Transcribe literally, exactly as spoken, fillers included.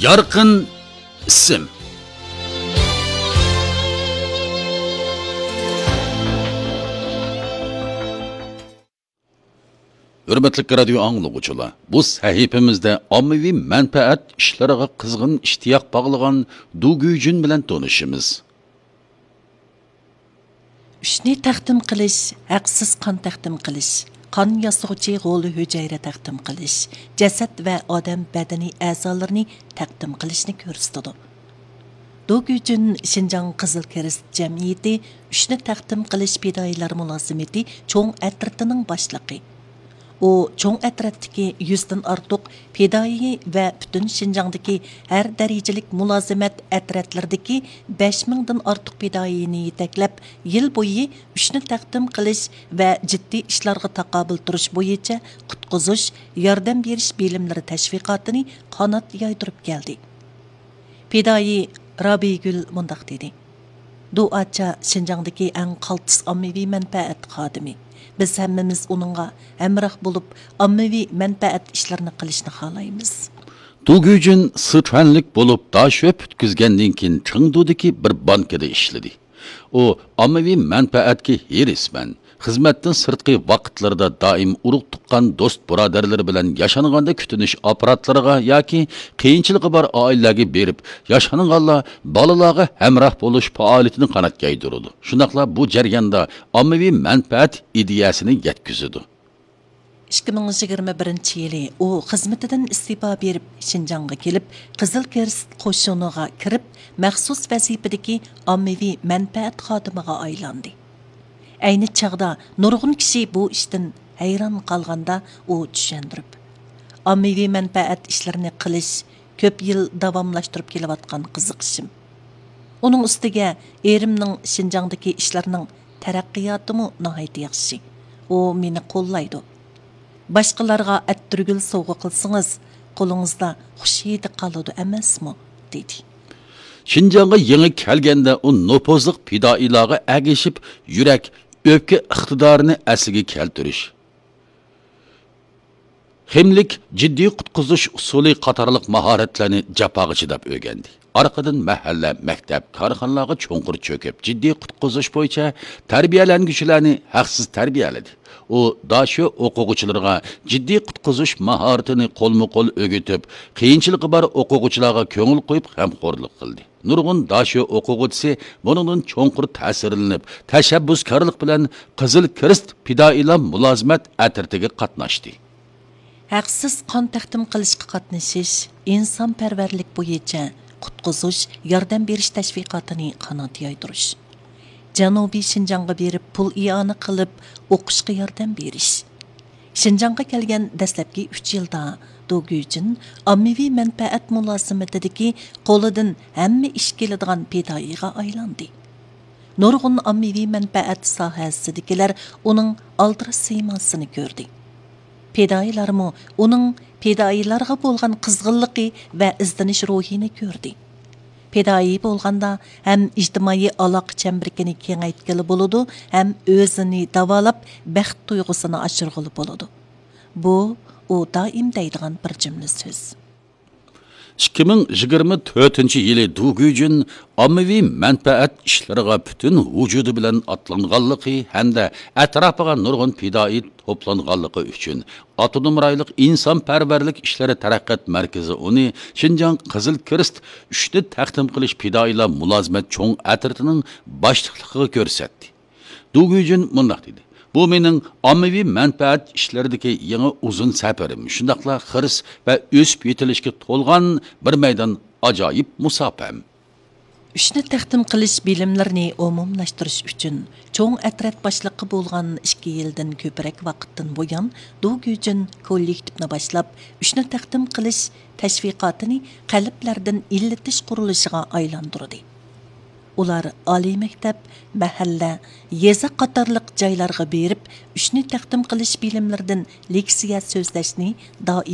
يارقىن ئىسىم. ھۆرمەتلىك رادىيو ئاڭلىغۇچىلار، بۇ سەھىپىمىزدە ئاممىۋى مەنپەئەت ئىشلىرىغا قىزغىن ئىشتىياق باغلىغان دۇ گۈيجۈن بىلەن تونۇشىمىز. ئۈچنى تەقدىم قىلىش، ھەقسىز قان تەقدىم قىلىش، قان ياسىغۇچى غول ھۈجەيرە تەقدىم قىلىش، جەسەت ۋە ئادەم بەدىنى ئەزالىرىنى تەقدىم قىلىشنى كۆرسىتىدۇ. دۇ گۈجۈن شىنجاڭ قىزىل كىرېست جەمئىيىتى ئۈچنى تەقدىم قىلىش پىدائىيلار مۇلازىمىتى چوڭ ئەترىتىنىڭ باشلىقى. ئۇ چوڭ ئەترەتتىكى يۈزدىن ئارتۇق پىدائىي ۋە پۈتۈن شىنجاڭدىكى ھەر دەرىجىلىك مۇلازىمەت ئەترەتلىرىدىكى بەش مىڭدىن ئارتۇق پىدائىينى يېتەكلەپ، يىل بويى ئۈچنى تەقدىم قىلىش ۋە جىددىي ئىشلارغا تاقابىل تۇرۇش بويىچە قۇتقۇزۇش، ياردەم بېرىش بىلىملىرى تەشۋىقاتىنى قانات يايدۇرۇپ كەلدى. پىدائىي رابىيگۈل مۇنداق دېدى: دۇئاچا شىنجاڭدىكى ئەڭ قالتىس ئاممىۋى مەنپەئەت خادىمى. بىز ھەممىمىز ئۇنىڭغا ھەمراھ بولۇپ، ئاممىۋى مەنپەئەت ئىشلىرىنى قىلىشنى خالايمىز. دۇ گۈجۈن سىچۈەنلىك بولۇپ، داشۆ پۈتكۈزگەندىن كېيىن، چېڭدۇدىكى بىر بانكىدا ئىشلىدى. ئۇ ئاممىۋى مەنپەئەتكە ھېرىسمەن، خىزمەتتىن سىرتقى ۋاقىتلىرىدا دائىم ئۇرۇق-تۇغقان، دوست-بۇرادەرلىرى بىلەن ياشانغاندا كۈتۈنۈش ئاپپاراتلىرىغا ياكى قىيىنچىلىقى بار ئائىلىلەرگە بېرىپ، ياشانغانلار، بالىلارغا ھەمراھ بولۇش پائالىيىتىنى قانات يايدۇرىدۇ. شۇنداقلا بۇ جەرياندا ئاممىۋى مەنپەئەت ئىدىيەسىنى يەتكۈزىدۇ. ئىككى مىڭ يىگىرمە بىرىنچى يىلى ئۇ خىزمىتىدىن ئىستېپا بېرىپ، شىنجاڭغا كېلىپ، قىزىل كىرېست قوشۇنىغا كىرىپ، مەخسۇس ۋەزىپىدىكى ئاممىۋى مەنپەئەت خادىمىغا ئايلاندى. ئەينى چاغدا نۇرغۇن كىشى بۇ ئىشتىن ھەيران قالغاندا، ئۇ چۈشەندۈرۈپ، ئاممىۋى مەنپەئەت ئىشلىرىنى قىلىش كۆپ يىل داۋاملاشتۇرۇپ كېلىۋاتقان قىزىقىشىم. ئۇنىڭ ئۈستىگە ئېرىمنىڭ شىنجاڭدىكى ئىشلارنىڭ تەرەققىياتىمۇ ناھايىتى ياخشى. ئۇ مېنى قوللايدۇ. باشقىلارغا ئەتىرگۈل سوۋغا قىلسىڭىز، قولىڭىزدا خۇش ھىدى قالىدۇ ئەمەسمۇ؟ دېدى. شىنجاڭغا يېڭى كەلگەندە ئۇ نوپۇزلۇق پىدائىيلارغا ئەگىشىپ، يۈرەك، ئۆپكە ئىقتىدارىنى ئەسلىگە كەلتۈرۈش، خىملىك، جىددىي قۇتقۇزۇش ئۇسۇلى قاتارلىق ماھارەتلەرنى جاپاغا چىداپ ئۆگەندى. ئارقىدىن مەھەللە، مەكتەپ، كارخانىلارغا چوڭقۇر چۆكۈپ، جىددىي قۇتقۇزۇش بويىچە تەربىيەلەنگۈچىلەرنى ھەقسىز تەربىيەلىدى. ئۇ داشۆ ئوقۇغۇچىلىرىغا جىددىي قۇتقۇزۇش ماھارىتىنى قولمۇ قول ئۆگىتىپ، قىيىنچىلىقى بار ئوقۇغۇچىلارغا كۆڭۈل قويۇپ غەمخورلۇق قىلدى. نۇرغۇن داشۆ ئوقۇغۇچىسى بۇنىڭدىن چوڭقۇر تەسىرلىنىپ، تەشەببۇسكارلىق بىلەن قىزىل كىرېست پىدائىيلار مۇلازىمەت ئەترىتىگە قاتناشتى. ھەقسىز قان تەقدىم قىلىشقا قاتنىشىش ئىنسانپەرۋەرلىك بويىچە قۇتقۇزۇش، ياردەم بېرىش تەشۋىقاتىنى قانات يايدۇرۇش. جەنۇبىي شىنجاڭغا بېرىپ پۇل ئىئانە قىلىپ ئوقۇشقا ياردەم بېرىش. شىنجاڭغا كەلگەن دەسلەپكى ئۈچ يىلدا دۇ گۈجۈن ئاممىۋى مەنپەئەت مۇلازىمىتىدىكى قولىدىن ھەممە ئىش كېلىدىغان پىدائىيغا ئايلاندى. نۇرغۇن ئاممىۋى مەنپەئەت ساھەسىدىكىلەر ئۇنىڭ ئالدىراش سىيماسىنى كۆردى. پىدائىيلارمۇ ئۇنىڭ پىدائىيلارغا بولغان قىزغىنلىقى ۋە ئىزدىنىش روھىنى كۆردى. پىدائىي بولغاندا ھەم ئىجتىمائىي ئالاقە چەمبىرىكىنى كېڭەيتكىلى بولىدۇ، ھەم ئۆزىنى داۋالاپ، بەخت تۇيغۇسىنى ئاشۇرغىلى بولىدۇ. بۇ، ئۇ دائىم دەيدىغان بىر جۈملە سۆز. ئىككى مىڭ يىگىرمە تۆتىنچى يىلى دۇ گۈجۈن ئاممىۋى مەنپەئەت ئىشلىرىغا پۈتۈن ۋۇجۇدى بىلەن ئاتلانغانلىقى ھەمدە ئەتراپىغا نۇرغۇن پىدائىي توپلانغانلىقى ئۈچۈن، ئاپتونوم رايونلۇق ئىنسانپەرۋەرلىك ئىشلىرى تەرەققىيات مەركىزى ئۇنى شىنجاڭ قىزىل كىرېست ئۈچنى تەقدىم قىلىش پىدائىيلار مۇلازىمەت چوڭ ئەترىتىنىڭ باشلىقلىقىغا كۆرسەتتى. دۇ گۈجۈن مۇنداق دېدى: بۇ مېنىڭ ئاممىۋى مەنپەئەت ئىشلىرىدىكى يېڭى ئۇزۇن سەپىرىم، شۇنداقلا خىرىس ۋە ئۆسۈپ يېتىلىشكە تولغان بىر مەيدان ئاجايىپ مۇساپەم. ئۈچنى تەقدىم قىلىش بىلىملىرىنى ئومۇملاشتۇرۇش ئۈچۈن، چوڭ ئەترەت باشلىقى بولغان ئىككى يىلدىن كۆپرەك ۋاقىتتىن بۇيان، دۇ گۈجۈن كوللېكتىپنى باشلاپ، ئۈچنى تەقدىم قىلىش تەشۋىقاتىنى قەلبلەردىن ئىللىتىش قۇرۇلۇشىغا ئايلاندۇردى. ئۇلار ئالىي مەكتەپ، مەھەللە، يېزا قاتارلىق جايلارغا بېرىپ، ئۈچنى تەقدىم قىلىش بىلىملىرىدىن لېكسىيە سۆزلەشنى دائىم